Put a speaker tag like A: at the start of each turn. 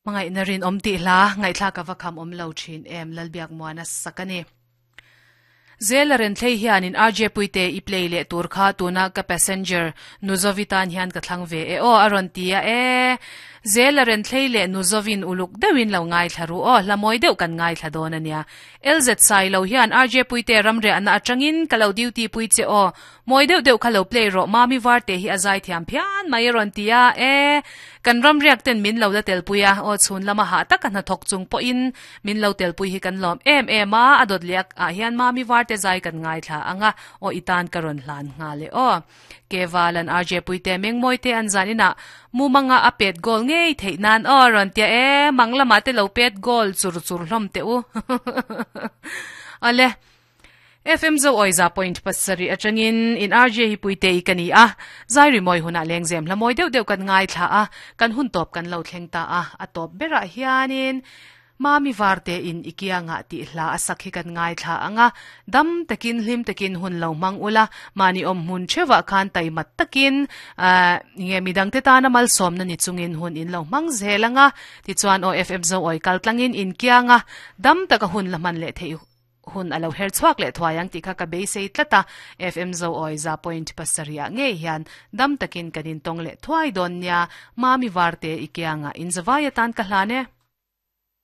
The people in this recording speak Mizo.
A: Hmangaihna rinawm tih hla ngaihthlak a va kham awm lo thin em Lalbiakmuana sak a ni. Zela Renthlei hianin RJ Puite i play leh tur kha tuna ka passenger Nuzovi tan hian ka thlang ve e aw a rawn ti a e. Zela Renthlei leh Nuzovin uluk deuhin lo ngaithla ru aw hla mawi deuh kan ngaithla dawn a nia. LZ Sailo hian RJ Puite ramriahna atangin ka lo duty pui che aw Mawi deuh deuh kha lo play rawh Mami Varte hi a zai thiam phian mai a rawn ti a, e, kan ram riak ten min lo la telpui a, aw chhun lama hah taka hnathawk chung pawhin min lo telpui hi kan lawm em em a, a dawt leh ah hian Mami Varte zai kan ngaithla ang a, aw i tan ka rawn hlan nghal e aw. Kevalan RJ Puite Mengmawi te an zan inah mumanga a pet goal ngei theih nan aw a rawn ti a, e, mang lamah te lo pet goal chur chur hlawm teh u. Awle. FM Zo Awiza point pasarih atangin in RJ hi Puite i ka ni a, zai rimawi hunah lengzem hla mawi deuh deuh kan ngaithla a, kan hun tawp kan lo thleng ta a, a tawp berah hianin Mami Varte in i kiangah tih hla a sak hi kan ngaithla ang a, dam takin hlim takin hun lo hmang ula, mahni awm hmun theuhah khan taimat takin nge midangte tana malsawmna ni chungin hun in lo hmang zel ang a, tichuan aw FM Zo Awi kaltlangin in kianga dam taka hun la hman leh theih Hun a lo her chhuak leh thuai ang tih kha ka beisei tlat a, FM Zoawi za point pasarih ah ngei hian dam takin kan intawng leh thuai dawn nia, Mami Varte i kiangah inzavai atan ka hlan e.